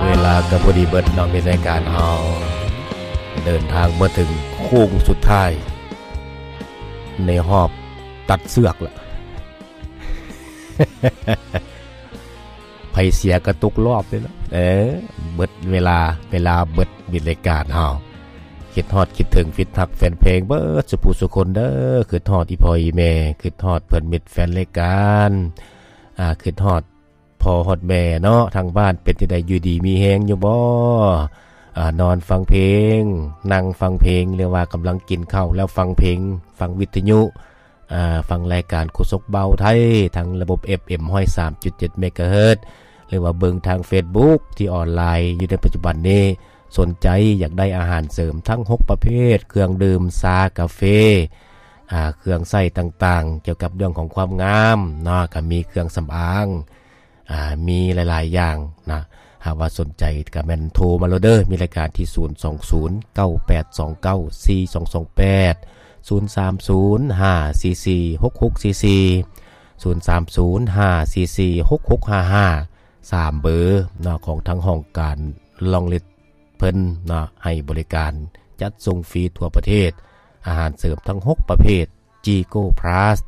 ເວລາກໍພໍດີເບິດເນາະ ມີລາຍການເຮົາເດີນທາງມາເຖິງໂຄ້ງສຸດທ້າຍ ໃນຮອບຕັດເຊືອກລະ ໃຜເສຍກໍຕົກຮອບເດ້ລະ. ເອີ ເບິດເວລາ ເວລາເບິດ ມີລາຍການເຮົາ ຄິດຮອດຄິດເຖິງ ຄິດຮັກແຟນເພງເບິດສູ່ຜູ້ສູ່ຄົນເດີ. ຄິດຮອດອີ່ພໍ່ອີ່ແມ່ ຄິດຮອດເພື່ອນມິດແຟນລາຍການ ອາ ຄິດຮອດ ພໍ່ຮອດແມ່ເນາະ ທາງບ້ານເປັນຈັ່ງໃດ ຢູ່ດີມີແຮງຢູ່ບໍ່? ອາ ນອນຟັງເພງ ນັ່ງຟັງເພງ ຫຼືວ່າກຳລັງກິນເຂົ້າແລ້ວຟັງເພງ ຟັງວິທະຍຸ ອາ ຟັງລາຍການໂຄສົກເບົາໄທ ທາງລະບົບ ເອັຟເອັມ ຮ້ອຍສາມຈຸດເຈັດ ເມກາເຮີດ ຫຼືວ່າເບິ່ງທາງເຟສບຸກທີ່ອອນລາຍຢູ່ໃນປັດຈຸບັນນີ້. ສົນໃຈຢາກໄດ້ອາຫານເສີມທັງຫົກປະເພດ ເຄື່ອງດື່ມ ຊາ ກາເຟ ອາ ເຄື່ອງໃຊ້ຕ່າງໆ ກ່ຽວກັບເລື່ອງຂອງຄວາມງາມເນາະ ກໍມີເຄື່ອງສຳອາງ ອາ ມີຫຼາຍໆຢ່າງນະ. ຫາກວ່າສົນໃຈກໍແມ່ນໂທມາໂລດເດີ ມີລາຍການທີ່ ສູນສອງສູນ ເກົ້າແປດສອງເກົ້າ ສີ່ສອງສອງແປດ ສູນສາມສູນ ຫ້າສີ່ສີ່ ຫົກຫົກສີ່ສີ່ ສູນສາມສູນ ຫ້າສີ່ສີ່ ຫົກຫົກຫ້າຫ້າ ສາມເບີເນາະ ຂອງທາງຫ້ອງການລອງລິດ ເພິ່ນເນາະ ໃຫ້ບໍລິການຈັດສົ່ງຟຣີທົ່ວປະເທດ, ອາຫານເສີມທັງຫົກປະເພດ, ຈີໂກພລັສ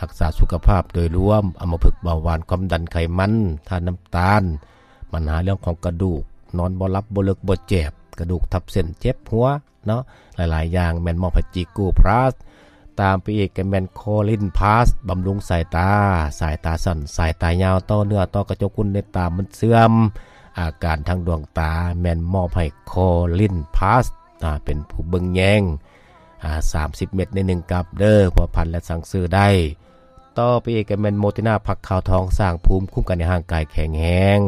ຮັກສາສຸຂະພາບໂດຍລວມ, ອຳມະພຶກ, ເບົາຫວານ, ຄວາມດັນ, ໄຂມັນ, ທາດນ້ຳຕານ, ບັນຫາເລື່ອງຂອງກະດູກ, ນອນບໍ່ຫຼັບ, ບໍ່ເລິກ, ບໍ່ແຈບ, ກະດູກທັບເສັ້ນ, ເຈັບຫົວເນາະ, ຫຼາຍໆຢ່າງແມ່ນມອບໃຫ້ຈີໂກພລັສ. ຕາມໄປອີກກໍແມ່ນໂຄລິນພລັສ ບຳລຸງສາຍຕາ, ສາຍຕາສັ້ນ, ສາຍຕາຍາວ, ຕໍ່ເນື້ອ, ຕໍ່ກະຈົກ, ກຸນໃນຕາມັນເສື່ອມ, ອາການທາງດວງຕາແມ່ນມອບໃຫ້ໂຄລິນພລັສ ອາ ເປັນຜູ້ເບິ່ງແຍງ ອາ ສາມສິບເມັດໃນໜຶ່ງກັບເດີ ພົວພັນ ແລະ ສັ່ງຊື້ໄດ້. ຕໍ່ໄປອີກກໍແມ່ນໂມຕິນາ ຜັກຂາວທອງ ສ້າງພູມຄຸ້ມກັນໃຫ້ຮ່າງກາຍແຂງແຮງ.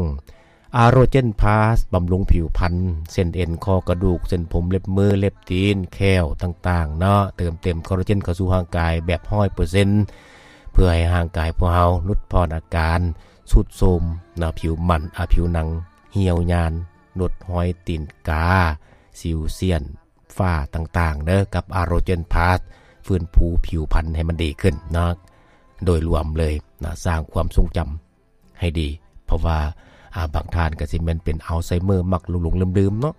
ອາໂຣເຈນພລັສ ບຳລຸງຜິວພັນ, ເສັ້ນເອັນ, ຂໍ້, ກະດູກ, ເສັ້ນຜົມ, ເລັບມື, ເລັບຕີນ, ແຂ້ວຕ່າງໆເນາະ, ເຕີມເຕັມຄອລລາເຈນເຂົ້າສູ່ຮ່າງກາຍແບບຮ້ອຍເປີເຊັນ ເພື່ອໃຫ້ຮ່າງກາຍພວກເຮົາຫຼຸດຜ່ອນອາການຊຸດໂຊມເນາະ, ຜິວມັນ, ອາ, ຜິວໜັງຫ່ຽວຍານ, ຫຼຸດຮອຍຕີນກາ, ສິວ, ສ້ຽນ, ຝ້າຕ່າງໆເດີ, ກັບອາໂຣເຈນພລັສ ຟື້ນຟູຜິວພັນໃຫ້ມັນດີຂຶ້ນເນາະ, ໂດຍລວມເລີຍນະ, ສ້າງຄວາມຊົງຈຳ ໃຫ້ດີ ເພາະວ່າ ອາ ບາງທ່ານກໍຊິແມ່ນເປັນອັລໄຊເມີ ມັກຫຼົງໆລືມໆເນາະ.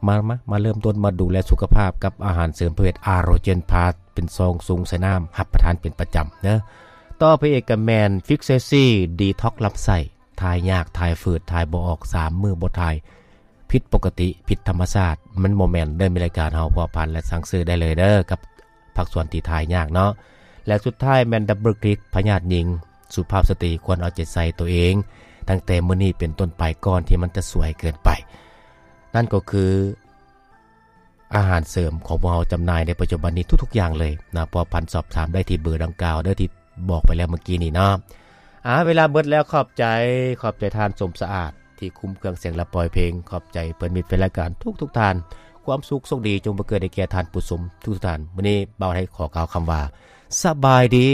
ມາ ມາ ມາເລີ່ມຕົ້ນມາດູແລສຸຂະພາບກັບອາຫານເສີມປະເພດອາໂຣເຈນພລັສ ເປັນຊອງຊຸງໃສ່ນ້ຳ ຮັບປະທານເປັນປະຈຳເດີ. ຕໍ່ໄປອີກກໍແມ່ນຟິກເຊຊີ ດີທັອກລຳໄສ້, ຖ່າຍຍາກ, ຖ່າຍຝືດ, ຖ່າຍບໍ່ອອກ, ສາມມື້ບໍ່ຖ່າຍ, ຜິດປົກກະຕິ, ຜິດທຳມະຊາດ, ມັນບໍ່ແມ່ນເດີ. ມີລາຍການເຮົາພົວພັນ ແລະ ສັ່ງຊື້ໄດ້ເລີຍເດີ ກັບ ພາກສ່ວນທີ່ຖ່າຍຍາກເນາະ. ແລະ ສຸດທ້າຍແມ່ນດັບເບິນຄລິກ ພະຍາດຍິງ, ສຸພາບສະຕີຄວນເອົາໃຈໃສ່ຕົວເອງ ຕັ້ງແຕ່ມື້ນີ້ເປັນຕົ້ນໄປ ກ່ອນທີ່ມັນຈະສວຍເກີນໄປ. ນັ້ນກໍຄືອາຫານເສີມຂອງພວກເຮົາຈຳໜ່າຍໃນປັດຈຸບັນນີ້ທຸກໆຢ່າງເລີຍນະ. ພົວພັນສອບຖາມໄດ້ທີ່ເບີດັ່ງກ່າວເດີ ທີ່ບອກໄປແລ້ວເມື່ອກີ້ນີ້ເນາະ. ອາ ເວລາເບິດແລ້ວ, ຂອບໃຈ, ຂອບໃຈທ່ານສົມສະອາດ ທີ່ຄຸ້ມເຄື່ອງສຽງ ແລະ ປ່ອຍເພງ. ຂອບໃຈເພື່ອນມິດແຟນລາຍການທຸກໆທ່ານ. ຄວາມສຸກໂຊກດີຈົ່ງບັງເກີດໃຫ້ແກ່ທ່ານຜູ້ຊົມທຸກໆທ່ານ. ມື້ນີ້ບ່າວໄທຂໍກ່າວຄຳວ່າ ສະບາຍດີ.